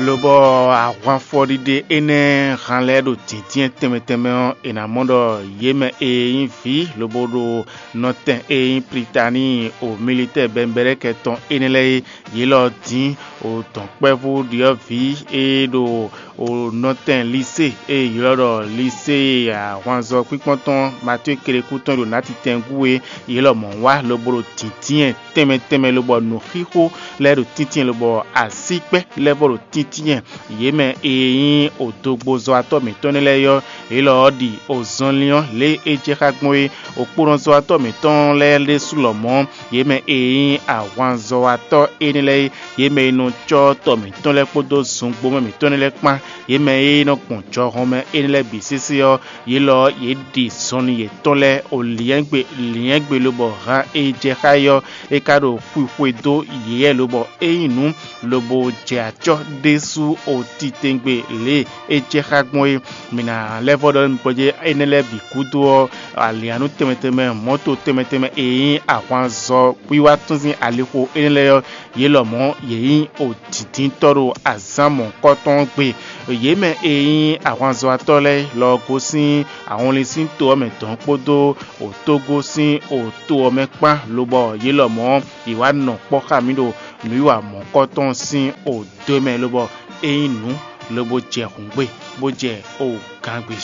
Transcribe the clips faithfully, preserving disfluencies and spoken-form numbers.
Lobɔ ahwanfɔɖiɖe énɛ́ han lɛ́ɛ ɖo dǐndín tɛnmɛ tɛnmɛ ɔ́, è nǎ mɔ ɖɔ yě mɛ e nyí vǐ lobo ɖo nɔtɛn e nyí Plitaníi o militɛ́ɛ bɛnbɛ́ɖɛ́kɛ tɔn énɛ́ lɛ́ɛ é, yě lɔ dín o dɔ̌nkpɛvú ɖyɔ̌vǐ e ɖo o nɔtɛn Lisée e è ylɔ́ ɖɔ Lisée ahwanzɔ kpínkpɔ́n tɔn Matíe Kelekú tɔn e ɖo nǎtitɛngú é, yě lɔmɔ̌ wá lobo ɖo dǐndín tɛnmɛ tɛnmɛ lobɔ nǔxixo lɛ́ɛ ɖo tíntín lobɔ asíkpɛ́ lɛ́ɛ vɔ ɖo tíntín. Yě mɛ e nyí odogbozɔ́watɔ́ mǐtɔn nɛ́ lɛ́ɛ ɔ́, yě lɔ ɔ́ ɖi ozɔnlin ɔ́ lě e é jɛ xá gbɔn é. Okpónɔzɔ́watɔ́ mǐtɔn lɛ́ɛ ɖésú lɔmɔ̌, yě mɛ e nyí ahwanzɔ́watɔ́ énɛ́ lɛ́ɛ é, yě mɛ e nɔ cɔ́ tɔ mǐtɔn lɛ́ɛ kpódó zungbómɛ mǐtɔn nɛ́ lɛ́ɛ kpán, yě mɛ e nɔ gbɔn jɔhɔn mɛ énɛ́ lɛ́ɛ bǐ sésé ɔ́, yě lɔ ɔ́, yě ɖi zɔnlin yětɔn lɛ́ɛ o lyɛ̌ngbe lyɛ̌ngbe lobɔ han e jɛ xá é ɔ́, é ka ɖo xwixwe dó yě lobɔ é nyí nǔ lobo jɛ acɔ́ ɖésú o titewungbe lě e é jɛ xá gbɔn é. Mǐ ná lɛ́ vɔ ɖɔ nú mi gbɔjɛ́ énɛ́ lɛ́ɛ bǐ gúdo ɔ́, alǐannú tɛnmɛ tɛnmɛ, mɔ̌to tɛnmɛ tɛnmɛ e nyí ahwanzɔ wiwa tɔn sín alixo énɛ́ lɛ́ɛ ɔ́, yě lɔmɔ̌ yě nyí odǐndíntɔ́ ɖo azǎn mɔ̌hunkɔtɔn ɔ́ gbe. Yě mɛ e nyí ahwanzɔ́watɔ́ lɛ́ɛ lɔ gosín ahɔnlin sín to ɔ́ mɛ dɔ̌n kpódó òtógó sín òto ɔ́ mɛ kpán, lobɔ yě lɔmɔ̌ yě wá nɔ kpɔ́ xá mì ɖo nǔwiwa mɔ̌hunkɔtɔn sín òdo mɛ, lobɔ é nyí nǔ, lobo jɛ hǔngbe, bó jɛ o gangbe.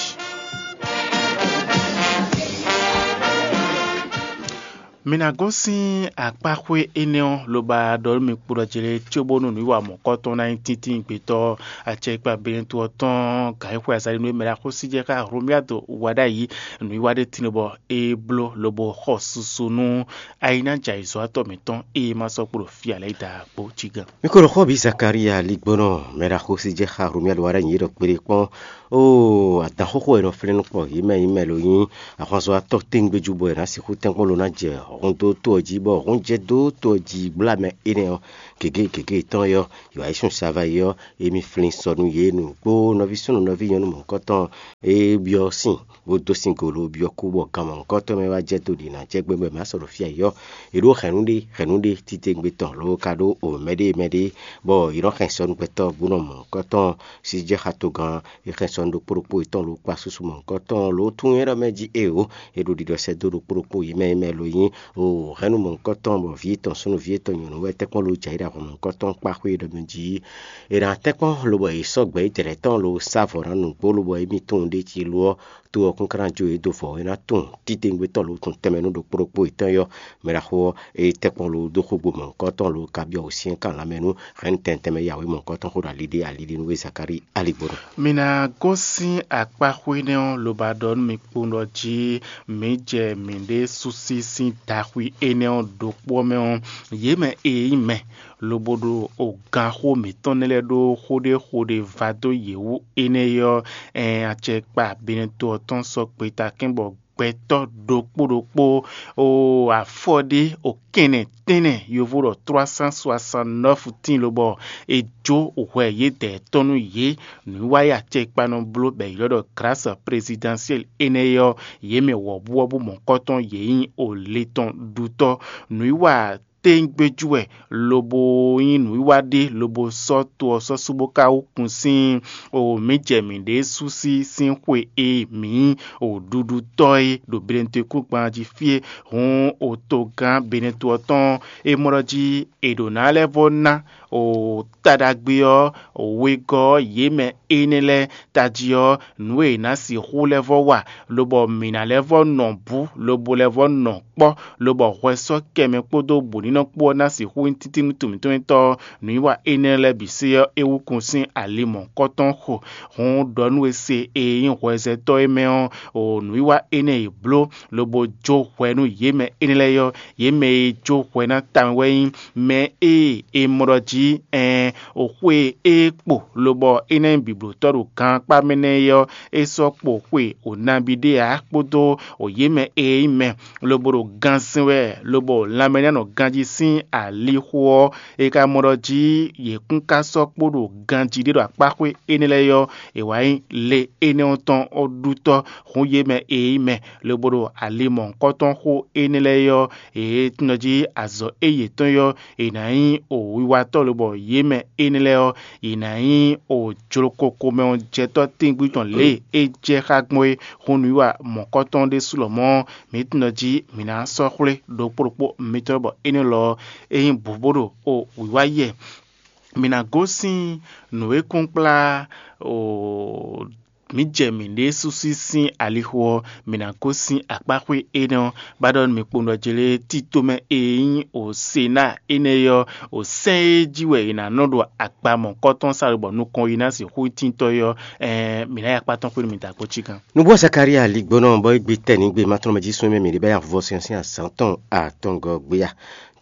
Mi ná gosín akpáxwé énɛ́ ɔ́, loba ɖɔ nú mi kpo ɖɔ jlé cóbónú nǔwiwa mɔ̌kɔtɔn ná nyí tíntín gbětɔ́ acɛkpa Benɛtu ɔ́ tɔn gǎn e xwe azalinu e mɛ ɖo axósí jɛ xá Hlomyádo wa ɖ'ayǐ. Nǔwiwa ɖé tín bɔ é bló lobo xɔ susu nú ayi ná jɛ ayǐzɔ́watɔ́ mǐtɔn e ma sɔ́ kpo ɖo fí ǎ lɛ́ɛ da kpó cí gán. Mi ko ɖo xó bǐ Zakalíya ligbɔnɔ mɛ ɖo axósí jɛ xá Hlomyádo wa ɖ'ayǐ é ɖɔ kpeɖé kpɔ́n. Oo, adǎn xóxó e nɔ flɛ́n nú kpɔ yě mɛ nyí mɛ lo nyí ahwanzɔ́watɔ́ tɛ́ngbéjú bɔ è nǎ sixú tɛ́nkpɔ́n lo ná jɛ hǔn dó to ɔ́ jí, bɔ hǔn jɛ dó to ɔ́ jí blá mɛ énɛ́ ɔ́ gěgé gěgé tɔn é ɔ́, yǒ ayísúnnu sava é ɔ́, émí flín sɔ nú yě nǔgbó nɔví súnnu nɔví nyɔ̌nu mɔ̌hunkɔtɔn e byɔ́ sin bó dó sin golo byɔ́ kú bɔ gan mɔ̌hunkɔtɔn mɛ wá jɛ dó ɖi nǎ jɛ gbɛgbɛ mɛ asɔ ɖo fí ayǐ ɔ́, è ɖǒ hɛ̌nnu ɖé hɛ̌nnu ɖé titewungbe tɔn ló ka ɖó o mɛɖée mɛɖée, bɔ è nɔ hɛn sɔ nú gbɛtɔ́ bó nɔ mɔ̌hunkɔtɔn sí jɛ xatogán. È hɛn sɔ nú ɖokpó ɖokpó yětɔn ló kpa susu mɔ̌hunkɔtɔn ló tún nyɛ ɖɔ mɛ jí eo, è ɖo ɖiɖɔ sɛ́ dó ɖokpó ɖokpó yě mɛ mɛ lo nyí o hɛ̌nnu mɔ̌hunkɔtɔn bɔ vǐ yětɔn súnnu vǐ yětɔn nyɔ̌nu wɛ tɛ́nkpɔ́n ló jɛ ayǐ ɖo ahwan mɔ̌hunkɔtɔn kpá xwé ɖɔ mɛ jí. È nǎ tɛ́nkpɔ́n lobɔ è sɔ́ gbɛ̌ dɛ̌lɛ́ tɔn lo sá vɔ̌ ná nǔgbó lobɔ émí tunwun ɖ'é jí lo ɔ́, to ɔ́ kún ka ná jó yě dó vɔ̌ é ná tunwun titewungbe tɔn lo tun tɛnmɛ nú ɖokpó ɖokpó yětɔn é ɔ́, mɛ ɖaxó ɔ́, é tɛ́nkpɔ́n lo dó xógbo mɔ̌hunkɔtɔn lo ka byɔ́ wǔsyɛ́n kan lanmɛ nú hɛ̌nnu tɛnmɛ tɛnmɛ yǎwe mɔ̌hunkɔtɔn xó ɖo ali ɖé ali ɖé nú we Zakalíi aligbɔnɔ. Mi ná gosín akpáxwé énɛ́ ɔ́, loba ɖɔ nú mi kpowun ɖɔ jí mǐ jɛ mǐɖée súsí sín daxwi énɛ́ ɔ́ ɖokpó ɔ́ mɛ ɔ́, yě mɛ e nyí mɛ lobo ɖo oganxó mǐtɔn nɛ́ lɛ́ɛ ɖó xó ɖé xo ɖé va dó yě wú énɛ́ é ɔ́, ɛn acɛkpa Benɛto ɔ́ tɔn sɔ́ gbeta kɛ́n bɔ gbɛtɔ́ ɖokpó ɖokpó o afɔ ɖé o kɛnɛ tɛ́nnɛ yovo ɖɔ trois cent soixante-neuf tíin lobɔ è jó hwɛ yědɛɛ tɔn nú yě. Nǔwiwa e acɛkpa nɔ bló bɔ è ylɔ́ ɖɔ grâce présidentielle énɛ́ é ɔ́, yě mɛ wɔ̌buwɔ́bú mɔ̌kɔ́tɔn yě nyí o le tɔn ɖutɔ́. Nǔwiwa tɛ́ngbéjú wɛ lobo nyí nǔwiwa ɖé lobo sɔ́ to ɔ́ sɔ́ sú bó ka wú kun sín o mǐ jɛ mǐɖée sú sí sín xwe e mǐ nyí o ɖuɖutɔ́ é ɖo Benɛtwekúngban jí fí é. Hǔn o togán Benɛtu ɔ́ tɔn é mɔ ɖɔ jí è ɖǒ ná lɛ́ vɔ́ ná o ta ɖagbe ɔ́, wegɔ́ ɔ́, yě mɛ énɛ́ lɛ́ɛ tají ɔ́, nǔ e è nǎ sixú lɛ́ vɔ́ wa, lobɔ mǐ ná lɛ́ vɔ́ nɔ bǔ, lobo lɛ́ vɔ́ nɔ kpɔ́, lobɔ hwɛ sɔ́ kɛ mɛ kpódó bǔnínɔ kpó ɔ́ ná sixú nyí títí nú to mǐtɔn nyítɔ́ ɔ́, nǔwiwa énɛ́ lɛ́ɛ bǐ se ɔ́, é wú kun sín ali mɔ̌hunkɔtɔn xo. Hǔn ɖɔ nú we se e nyí hwɛzɛtɔ́ é mɛ ɔ́, o nǔwiwa énɛ́ e è bló, lobo jó hwɛ nú yě mɛ énɛ́ lɛ́ɛ ɔ́, yě mɛ e jó hwɛ ná tawun wɛ nyí mɛ e è mɔ ɖɔ jí ɛɛn o xwe e é kpo, lobɔ é ná nyí bǐblótɔ́ ɖo gankpá mɛ nɛ́ é ɔ́, é sɔ́ kpo xwe o nabí ɖé ǎ kpódó o yě mɛ e nyí mɛ, lobo ɖo ganzɛn wɛ, lobo lanmɛ ná nɔ ganjí sín alixo ɔ́, è ka mɔ ɖɔ jí yě kún ka sɔ́ kpo ɖo ganjí ɖé ɖo akpáxwé énɛ́ lɛ́ɛ ɔ́, è wǎ nyí le énɛ́ ɔ́ tɔn ɔ́ ɖutɔ́. Hǔn yě mɛ e nyí mɛ, lobo ɖo ali mɔ̌hunkɔtɔn xó énɛ́ lɛ́ɛ ɔ́, è tunɔ jí azɔ̌ e yětɔn ɔ́, è nǎ nyí o wiwatɔ́ bɔ yě mɛ énɛ́ lɛ́ɛ ɔ́, yě ná nyí o jlokoko mɛ ɔ́ jɛtɔ́ tɛ́ngbí tɔn lě e é jɛ xá gbɔn é. Xó nǔwiwa mɔ̌kɔtɔn ɖésú lɔmɔ̌, mǐ tunwun ɖɔ jí mǐ ná sɔ́ xwlé ɖokpó ɖokpó mitɔn bɔ énɛ́ lɔ ɔ́, é nyí bǔ bó ɖo o wǐwá yɛ. Mǐ ná gosín nǔ e kún kplá o mǐ jɛ mǐɖée súsú sín alixo ɔ́, mǐ ná gosín akpáxwé énɛ́ ɔ́, bá ɖɔ nú mǐ kpowun ɖɔ jlé tito mɛ e nyí o Senáa énɛ́ é ɔ́, o sɛ́n e jí wɛ è nǎ nɔ ɖo akpa mɔ̌kɔtɔn sa bɔ nukɔn yi ná sixú tíntɔ́ é ɔ́, ɛɛn mǐ ná yi akpá tɔn xwé nú mǐ da kpó cí gán. Nǔgbó Zakalía ligbónɔ bɔ é gbe tɛ́ nǐ gbe má tɔn mɛ jí súnmí mǐ ɖě bá ya vɔ́ sɛn sín azǎn tɔn atɔngɔ́ gbé a?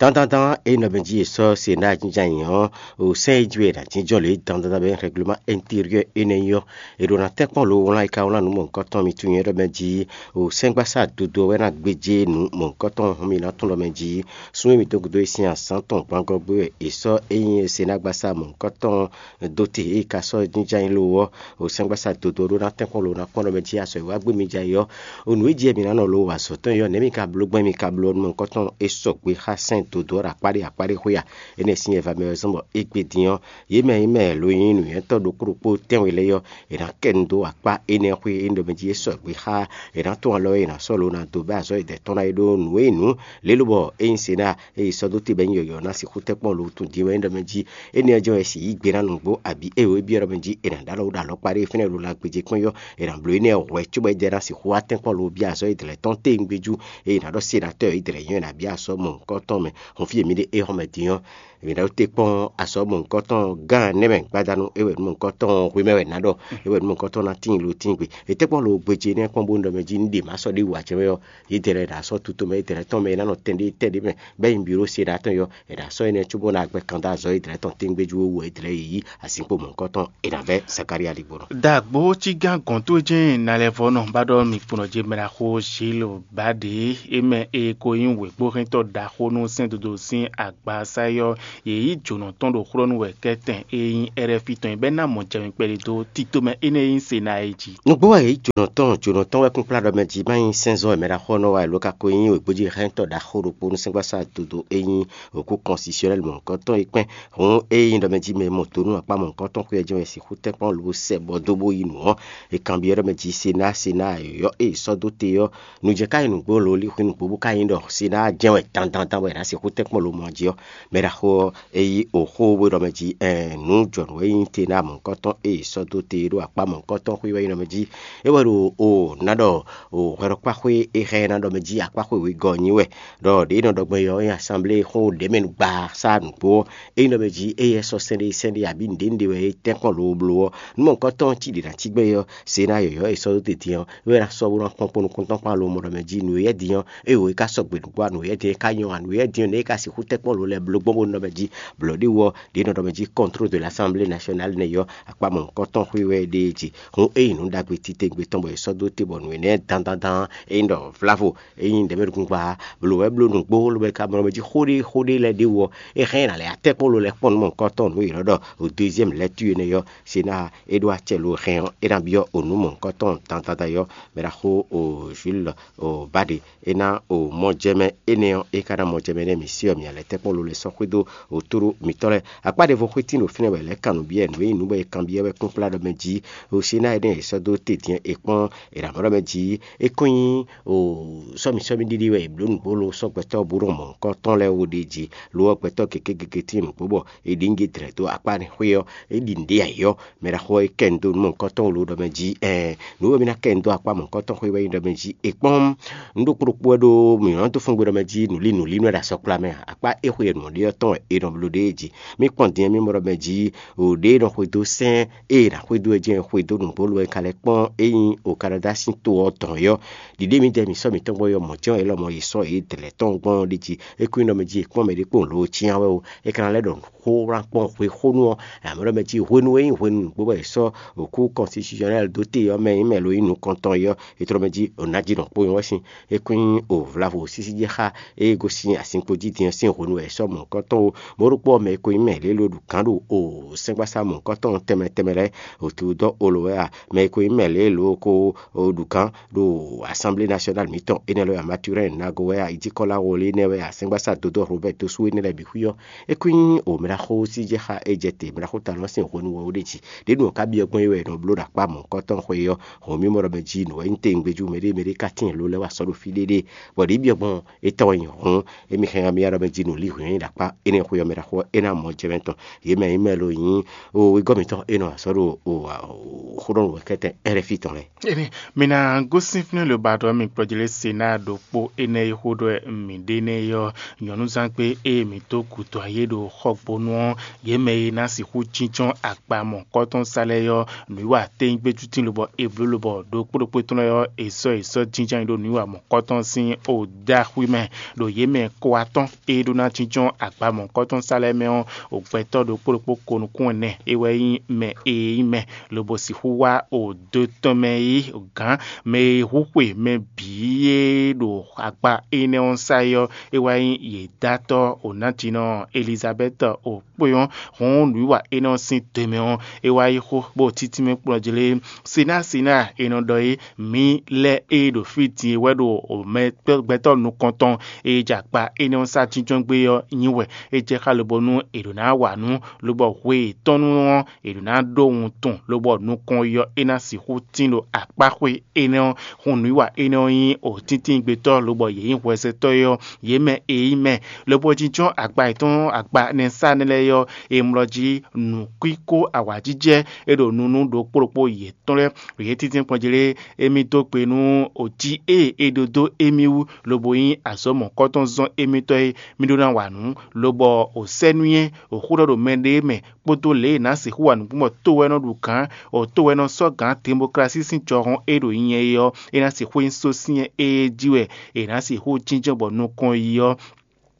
Dandandan é nɔ mɛ jí è sɔ́ se ná jínjɔ́n ayǐ ɔ́, o sɛ́n e jí wɛ è nǎ jínjɔ́n lě dandandan bɔ é nyí règlement intérieur énɛ́ nyí ɔ́, è ɖǒ ná tɛ́nkpɔ́n lo wlán e ka wlán nǔ mɔ̌hunkɔtɔn mitɔn nyɛ ɖɔ mɛ jí, o sɛ́ngbásá dodo ɔ́ wɛ ná gbéjé nǔ mɔ̌hunkɔtɔn hɔn mì ná tɔn ɖɔ mɛ jí. Súnnu mitɔn gúdo e sín azǎn tɔn gbangɔ́ gbé wɛ è sɔ́ é nyí senágbásá mɔ̌hunkɔtɔn dó te e ka sɔ́ jínjɔ́n ayǐ lo ɔ́, o sɛ́ngbásá dodo ɔ́ ɖó ná tɛ́nkpɔ́n lo ná kpɔ́n ɖɔ mɛ jí azɔ̌ e wá gbé mi jɛ ayǐ ɔ́, o nǔ e jí wɛ mǐ ná nɔ lo wa azɔ̌ tɔn é ɔ́, nɛ̌ mi ka bló gbɔn mi ka bló ɔ́ nú mɔ̌hunkɔtɔn e sɔgbe xá sɛ́n dodó ɔ́ ɖo akpá ɖé akpá ɖé xwé a? Énɛ́ sín nyɛ va mɛ ɔ́ zɔ́n bɔ é gbé din ɔ́, yě mɛ e nyí mɛ lǒnyínúnywɛ́tɔ́ ɖokpó ɖokpó tɛ́nwe lɛ́ɛ ɔ́, è nǎ kɛ nu dó akpá énɛ́ xwé e nyí ɖɔ mɛ jí é sɔgbe xá è nǎ tɔ́n alɔ e è nǎ sɔ́ lo ná dó bɛ́ azɔ̌ e dɛ̌ tɔn ná é ɖó nǔ e nyí nǔ lě lobɔ é nyí se ná e è sɔ́ dó te bɔ é nyí yɔ̌yɔ́ ná sixú tɛ́ kpɔ́n lo tunwun din wɛ é nyí ɖɔ mɛ jí énɛ́ ɔ́ jɛ́n wɛ è sixú yí gbe ná nǔgbó abǐ é wǒ é byɔ́ ɖɔ mɛ jí è nǎ ɖó alɔ ɖo ɖo akpá ɖé fínɛ́ ɖo la gbéjé kpɔ́n yɔ́ è nǎ bló énɛ́ hwɛ̌ cóbɔ é dɛ ná sixú wá tɛ́nkpɔ́n lo byɔ́ azɔ̌ e dlɛ̌ tɔn téwúngbéjú e è nǎ ɖɔ sénatɔ́ e dlɛ̌ nyɔ́ è nǎ byɔ́ asɔ́ mɔ̌hunkɔtɔn mɛ hɔn fí e mǐ ɖe é hɔn mɛ din ɔ́. È nǎ ɖó te kpɔ́n asɔ́ mɔ̌hunkɔtɔn gán nɛ́ mɛ gbadanu é wɛ nǔ mɔ̌hunkɔtɔn hwe mɛ wɛ è nǎ ɖɔ é wɛ nǔ mɔ̌hunkɔtɔn ná tíin lo tíin gbe. È tɛ́ kpɔ́n lo gbéjé énɛ́ kpɔ́n bónú ɖɔ mɛ jí un ɖe mǎ sɔ́ ɖé wǔ ǎ cɛ mɛ ɔ́, yě dɛ lɛ́ɛ ɖo asɔ́ tutɔn mɛ yě dɛ lɛ́ɛ tɔn mɛ é ná nɔ tɛn ɖé tɛ́ ɖé mɛ bɛ́ nyi bǐ ɖó se ɖo atɔn yɔ è ɖo asɔ́ énɛ́ cóbó ná gbɛ́ kan dó azɔ̌ e dlɛ̌ tɔn téŋgbéjú wú wɛ é dlɛ̌ yi yí azinkpo mɔ̌hunkɔtɔn è nǎ vɛ́ Zakalía ligbɔnɔ. Dagbo cígán gɔ̌n towe jɛ́n nalɛvɔ́nɔ bá ɖɔ mi kplɔ́n jɛ mɛ ná xó Zílo Bǎɖe é mɛ e ko nyí wěkpóhɛntɔ́ ɖaxó nú sɛ́n dodo sín agbasá yɔ́, yě yí jǒnɔ tɔn ɖo xlɔ́ nú wɛ kɛ́tɛn e nyí Ɛrɛ́fi tɔn é bɛ́ ná mɔ jɛ mi kpɛɖé dó tito mɛ énɛ́ e nyí Senáa é jí. Nǔgbó wɛ yě yí jǒnɔ tɔn, jǒnɔ tɔn wɛ kún kplá ɖɔ mɛ jí má nyí sɛ́nzɔ́ e mɛ ɖaxó ɔ́ nɔ wa è ló ka ko nyí wěgbójéhɛntɔ́ ɖaxó ɖokpó nú sɛ́ngbásá dodo e nyí wěkú kɔnsisiyɔnɛ́li mɔ̌hunkɔtɔn é kpɛ́n. Hǔn ée nyí ɖɔ mɛ jí mɛ e mɔ do nú akpá mɔ̌hunkɔtɔn xwé ɔ́ jɛ́n wɛ è sixú tɛ́nkpɔ́n lobo sɛ bɔ dó bó yi nǔ ɔ́, è kanbyɔ́ ɖɔ mɛ jí Senáa, Senáa yɔ̌yɔ́ e è sɔ́ dó te ɔ́, nǔ jɛ ká nyí nǔgbó lo lín hwenu gbó bó ka nyí ɖɔ Senáa jɛ́n wɛ dandandan bɔ è nǎ sixú tɛ́nkpɔ́n lo mɔ jí ɔ́, mɛ ɖaxó ɔ́, é yí oxó bó ɖɔ mɛ jí ɛɛn nǔ jɔ̌nǔ e nyí Senáa mɔ̌hunkɔtɔn e è sɔ́ dó te é ɖo akpá mɔ̌hunkɔtɔn xwé wɛ nyí ɖɔ mɛ jí é wɛ ɖo o ná ɖɔ o hwɛɖɔkpáxwé e xɛ ná ɖɔ mɛ jí akpáxwé wegɔ́ ɔ́ nyí wɛ ɖɔ ɖě nɔ ɖɔ gbɔn é ɔ́ nyí asanblée xó ɖě mɛ nu gba sá nǔgbó ɔ́, é nyí ɖɔ mɛ jí éyɛ́ sɔ́ sɛ́n ɖé sɛ́n ɖé abǐ nǔɖé nǔɖé wɛ é tɛ́nkpɔ́n loo bló ɔ́, nú mɔ̌hunkɔtɔn cí ɖě ná cí gbɛ́ é ɔ́, se ná yɔ̌yɔ́ e sɔ́ dó te din ɔ́, é wɛ ná sɔ́ bó ná kpɔ́n kpɔ́n nukúntɔ́ kpán alo mɔ ɖɔ mɛ jí nǔ e yɛ́ din ɔ́, é wǒ é ka sɔ́ gbe nǔgbó a nǔ e yɛ́ din é ka nyɔ́ a nǔ e yɛ́ din ɔ́, nɛ̌ é ka sixú tɛ́nkpɔ́n lo lɛ́ɛ bló gbɔn bó nɔ mɛ jí blɔ̌ ɖé wú ɔ́, ɖě nɔ ɖɔ mɛ jí kɔntrol de l'assemblée nationale nɛ́ ɔ́, akpá mɔ̌hunkɔtɔn xwé wɛ é ɖe é jí. Hǔn é nyí nǔ ɖagbe titewungbe tɔn bɔ è sɔ́ dó te bɔ nǔ énɛ́ dandandan é nyí ɖɔ vlavo é nyí ɖɛ̌mɛɖukúngba blǒ wɛ bló nǔgbó lobo é ka mɔ mɛ jí xó ɖé xó ɖé lɛ́ɛ ɖ'é wú ɔ́, é hɛn ɛ ná lɛ́ atɛ́kpɔ́n ló lɛ́ kpɔ́n nǔ mɔ̌hunkɔtɔn nǔ yěɖɔ́ ɖɔ o deuxième lecture énɛ́ ɔ́, se ná é ɖó acɛ lo hɛn ɔ́, é ná byɔ́ o nǔ mɔ̌hunkɔtɔn dandandan ɔ́, mɛ ɖaxó o Jules o Bade é ná o mɔjɛmɛ énɛ́ ɔ́, é ka ná mɔjɛmɛ nɛ́ mǐ sí ɔ́, mǐ ná lɛ́ tɛ́kpɔ́n ló lɛ́ sɔ́ xwedó òtúɖó mǐtɔn lɛ́ɛ. Akpá ɖěvo xwé tín ɖo fínɛ́ wɛ lɛ̌ kan nǔ byɔ́ nǔ e nyí nǔ bɔ è kanbyɔ́ wɛ kpínkplá ɖɔ mɛ jí o se ná énɛ́ è sɔ́ dó te din è kpɔ́n è nǎ mɔ ɖɔ mɛ jí é kɔn nyí o sɔ́mi sɔ́mi ɖiɖi wɛ è blǒ nǔgbó lo sɔ́ gbɛtɔ́ bó nɔ mɔ nukɔn tɔn lɛ́ɛ wo ɖ'é jí. Lo ɔ́, gbɛtɔ́ gěgé gěgé tín nǔgbó bɔ è ɖi nǔ dlɛ̌ dó akpá xwé ɔ́, é ɖi nǔɖé ayǐ ɔ́, mɛ ɖaxó ɔ́ é kɛ nu dó nǔ mɔ̌hunkɔtɔn wú ló ɖɔ mɛ jí ɛɛn nǔ e mì ná kɛ nu dó akpá mɔ̌hunkɔtɔn xwé wɛ nyí ɖɔ mɛ jí è kpɔ́n nǔ ɖokpó ɖokpó wɛ ɖó mǐ nɔ dó fún gbe ɖɔ mɛ jí nǔlí nǔlí nú wɛ ɖo asɔkpla mɛ ǎ. Akpá é xwe e nǔ ɖe ɔ́ tɔn wɛ è nɔ bló ɖe é jí. Mì kpɔ́n din ɔ́, mì mɔ ɖɔ mɛ jí o ɖě e nɔ xwedó sɛ́n e è nǎ xwedó wɛ jɛ́n xwedó nǔgbó lo wɛ ka lɛ́ kpɔ́n é nyí o Kanadá sín to ɔ́ tɔn é ɔ́, ɖiɖe mǐdɛɛ mǐ sɔ́ mǐtɔn gbɔn é ɔ́, mɔ̌ jɛ́n wɛ élɔ́ mɔ è sɔ́ yě dlɛ̌ tɔn gbɔn ɔ́ ɖ'é jí. É kún nyí ɖɔ mɛ jí è kpɔ́n mɛɖé kpó lǒ cyán wɛ ó. É ka ná lɛ́ ɖɔ xó wlán kpɔ́n hwexónú ɔ́, amɔ̌ ɖɔ mɛ jí hwenu e nyí hwenu nǔgbó bɔ è sɔ́ òkú kɔnsitisiɔnɛ́li dó te ɔ́ mɛ nyí mɛ lo nyí nǔkɔntɔn é ɔ́, è tlɔ mɛ jí o nǎ jí nɔ kpó nyɔ́ sín. É kún nyí o vlavo sísí jɛ xá e gosín azinkpo jí din ɔ́ sín hwenu wɛ è sɔ́ mɔ̌hunkɔtɔn ó. Mɔ̌ɖokpó ɔ́, mɛ e ko nyí mɛ lě e ló ɖu gǎn ɖo o sɛ́ngbasá mɔ̌hunkɔtɔn tɛnmɛ tɛnmɛ lɛ́ɛ, o Teodɔ́ Olo wɛ a? Mɛ e ko nyí mɛ lě e ló ko ɖu gǎn ɖo Assemblée Nationale mǐtɔn énɛ́ lɛ́ɛ wɛ a? Maturɛ́n Nago wɛ a? Ijíkɔ́lá Woli énɛ́ wɛ a? Sɛ́ngbasá Dodó Robɛ́t Dosú énɛ́ lɛ́ɛ bǐ xwí ɔ́, é kún nyí o mɛ ɖaxó sí jɛ xá é jɛ te, mɛ ɖaxó talɔn sín hwenu wɛ ó ɖe jí. Ɖě nu ɔ́ ká byɔ́ gbɔn é wɛ è nɔ bló ɖo akpá mɔ̌hunkɔtɔn xwe ɔ́, hɔn mì mɔ ɖɔ mɛ jí nǔ wɛ nyí tewungbejú mɛɖé mɛɖé ka tíin ló lɛ́ wá sɔ́ ɖo fí ɖéɖé, bɔ ɖě byɔ́ gbɔn é tɔn wɛ nyi hɔn. Émí hɛn ɔ́, mì ya ɖɔ mɛ jí nǔ lí hwǐn ɖo akpá énɛ́ xwe ɔ́ mɛ ɖaxó ɔ́, é ná mɔ jɛmɛ tɔn. Yě mɛ nyí mɛ lo nyí o wegɔ́ mǐtɔn é nɔ wa sɔ́ ɖo o xóɖɔnú wɛ kɛ́tɛn Ɛ́rɛ́fí tɔn lɛ́ɛ. Emi, mi ná gosín fínɛ́ lobadɔ mi kplɔ́jlé se ná ɖokpó énɛ́ e xó ɖɔ mǐ ɖe nɛ́ é ɔ́, nyɔ̌núzán gbé e mǐ dó gǔdo ayé ɖo xɔgbónú ɔ́, yě mɛ e ná sixú jínjɔ́n akpa mɔ̌kɔ́tɔn sa lɛ́ɛ ɔ́, nǔwiwa tényígbéjútín lobɔ è blǒ lobɔ ɖokpó ɖokpó tɔn lɛ́ɛ ɔ́, è sɔ́ è sɔ́ jínjɔ́n nyi ɖo nǔwiwa mɔ̌kɔ́tɔn sín o dó axwí mɛ, ɖo yě mɛ kó atɔ́n e ɖó ná jínjɔ́n agba mɔ̌kɔ́tɔn sa lɛ́ɛ mɛ ɔ́, o gbɛtɔ́ ɖokpó ɖokpó ko nukún ɛnɛ é wɛ nyí mɛ e nyí mɛ, lobo sixú wá o dó tɔn mɛ yí gǎn mɛ e hú xwe mɛ bǐ e ɖo agba énɛ́ ɔ́ sa é ɔ́, é wá nyí yě dátɔ́ o nǎjínɔ Elizabɛ́ti o kpé ɔ́, hɔn nǔwiwa énɛ́ ɔ́ sín te mɛ ɔ́, é wá yí xó bó títí mɛ kplɔ́ jlé. Sinásiná è nɔ ɖɔ é, mǐ lɛ́ e ɖo fí din e wɛ ɖo mɛ gbɛtɔ́ nukɔntɔn e jɛ akpa énɛ́ ɔ́ sá jínjɔ́n gbé ɔ́ nyi wɛ. É jɛ xá lobonu è ɖǒ ná wa nǔ, lobɔ hwe yětɔn nu ɔ́, è ɖǒ ná ɖó wuntun, lobɔ nukɔn yi ɔ́, é ná sixú tín ɖo akpáxwé énɛ́ ɔ́. Hun nǔwiwa énɛ́ ɔ́ nyí òtíntín gbetɔ́, lobɔ yě nyí hwɛzɛtɔ́ é ɔ́, yě mɛ e nyí mɛ, lobo jínjɔ́n agba yětɔn agba nɛsá nɛ́ lɛ́ɛ ɔ́, è mlɔ jí nǔkwíkó awǎjijɛ e ɖo nunu ɖokpó ɖokpó yětɔn lɛ́ɛ. Yě tíntín kpɔ́n jí lé, émí dó gbe nú òjí e è ɖó dó émí wú, lobo nyí azɔ̌ mɔ̌kɔ́tɔn zɔ́n émítɔn e mí ɖó ná wa nǔ, lobɔ ò sɛ́ nú nyɛ, ò xó ɖɔ ɖo mɛɖée mɛ, kpódó lě e è nǎ sixú wa nǔgbó bɔ tó wɛ nɔ ɖu gǎn, ò tó wɛ nɔ sɔ́ gǎn demoklasí sín jɔhɔn e ɖo nyɛ é ɔ́, é ná sixú nyí sósyɛ́n e jí wɛ è nǎ sixú jínjɔ́n bɔ nukɔn yi ɔ́,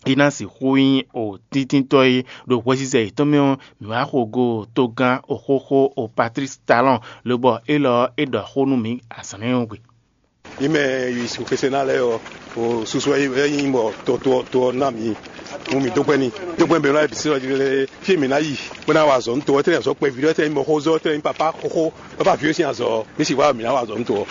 é ná sixú nyí o tíntínntɔ́ e ɖo hwɛzizɛ yětɔn mɛ ɔ́, mǐ wá xo go togán oxóxó o Patlísi Talɔn, lobɔ élɔ́ ɔ́, é ɖɔ xó nú mǐ azǎn énɛ́ ɔ́ gbe. Mǐ mɛ yi xwesɛná lɛ́ɛ ɔ́, o susu wɛ nyí bɔ to to ɔ to ɔ́ ná mǐ. Mú mǐ dó gbɛ́ n'i. Dó gbɛ́ bɛ̌ lɔ́ bǐ sí ɔ́ jí lé, fí e mǐ ná yi bó ná wa azɔ̌ nú to ɔ́, tɛ́nɛ́ azɔ̌ kpɛví ɖɔ, tɛ́nɛ́ nyí mɔxózɔ́, tɛ́nɛ́ nyí papá xóxó, bó bá vǐ ɔ́ sín azɔ̌ ɔ́, mǐ sixú wá mǐ ná wa azɔ̌ nú to ɔ́.